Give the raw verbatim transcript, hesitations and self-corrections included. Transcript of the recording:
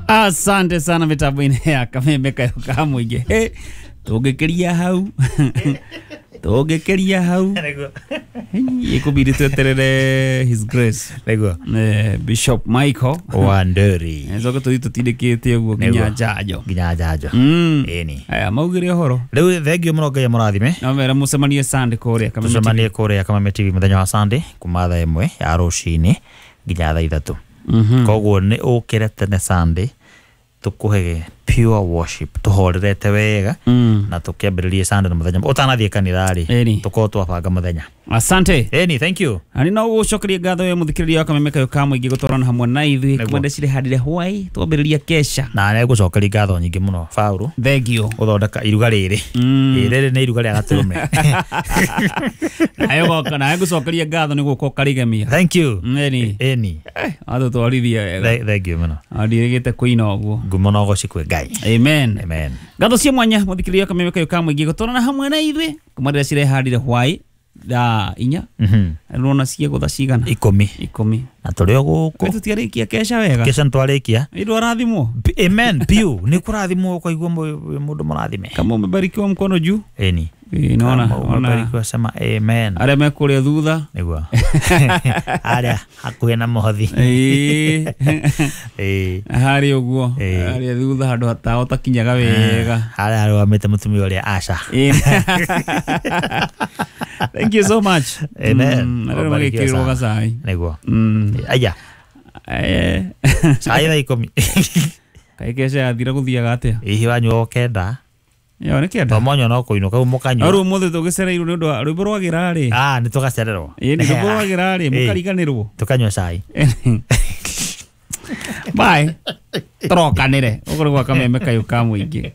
Asante sana mitambo-inĩ ya Kameme Kayo ka mũingĩ. Hĩ, tũngĩkĩria hau tũngĩkĩria hau Nĩguo. Ĩkũbidi tweterere His Grace Nĩguo. eh, Bishop Michael Wanderi. coke tũthiĩ tũtindĩkĩte ũguo nginya Nĩguo. njanjo. Nginya njanjo. Mm. Ĩni. Aya maugire ũhoro. Rĩu thengio mũno, Ngai amũrathime. No mera mũcemanie Sunday kũrĩa Kameme T V. Tũcemanie kũrĩa Kameme T V mũthenya wa Sunday kuma thaa ĩmwe ya rũcinĩ nginya thaa ithatũ. Mhm. Koguo nĩ ũkĩre tene Sunday, tũkũhe pure worship tũhorerete wega Mm. na tũkĩambĩrĩrie Sunday na mũthenya ũtanathiĩ kanitha rĩ, Ĩni. tũkorwo twabanga mũthenya. Asante. Ĩni, thank you. Ani no gũcokeria ngatho we mũthikĩrĩria wa Kameme Kayo ka mũingĩ gũtwarana hamwe na ithuĩ. Nĩguo. Kwenda cirehandire hwai twambĩrĩria kesha. Na nĩ ngatho nyingĩ mũno Paũlũ Thank you. gũthondeka iruga rĩrĩ. Mm. Ĩ, rĩrĩ nĩ iruga rĩa gatũrũme. Nawe goka nawe ngũcokeria ngatho nĩ gũka ũkarĩgemia. Thank you. Ĩni. Ĩni. Atũtwarithia wega. The- thank you mũno. Ndirĩgĩte kũina ũguo. Ngumo no goci kwĩ Ngai. Amen. Amen. Ngatho cia mwanya mũthikĩrĩria wa Kameme Kayo ka mũingĩ gũtwarana hamwe na ithuĩ kuma rĩrĩa cirehandire hwai thaa inya. Mhm. Rona ciegũtha cigana? Ikũmi. Ikũmi. Na tũrĩ o gũkũ. Tũtiarĩkia kesha wega. Kesha nĩtwarĩkia. Nĩ arathimwo. P- amen piũ, nĩ kũrathimwo ũkaigua mũ- mũndũ mũrathime. Kama umebarikiwa mkono juu. Ĩni. Ĩ, naona Kama ona umebarikiwa sema amen. arĩa me kũrĩa thutha. Nĩguo arĩa hakuhĩ na mũhothi. Ĩ. Ĩ. Harĩ ũguo. Ĩ. Harĩa thutha handũ hatawa ũtakinyaga wega. Harĩa arũgamĩte mũtumia ũrĩa aca. Ĩ. Thank you so much. Amen. Mm, arĩa Ubarikiwe magĩkĩrĩrwo sana. gacai. Nĩguo. Mm. Aya. Eh. Cai thaa ikũmi. Kaĩ kesha yathira gũthiaga atĩa? Hihi wanyua o kenda. Yo nĩ kenda. To monyua no kũinũka u mũkanyua. Rĩu ũmũthĩ tũgĩcereirwo nĩ ũndũ wa rwĩmbo rwagĩra rĩ. Ah, nĩ tũgacererwo. Ĩ, nĩ rwĩmbo rwagĩra rĩ Ĩ. mũkariganĩrwo. Tũkanyua cai. Bye. Tũrokanĩre. Ũguo nĩ gwa Kameme Kayo ka mũingĩ.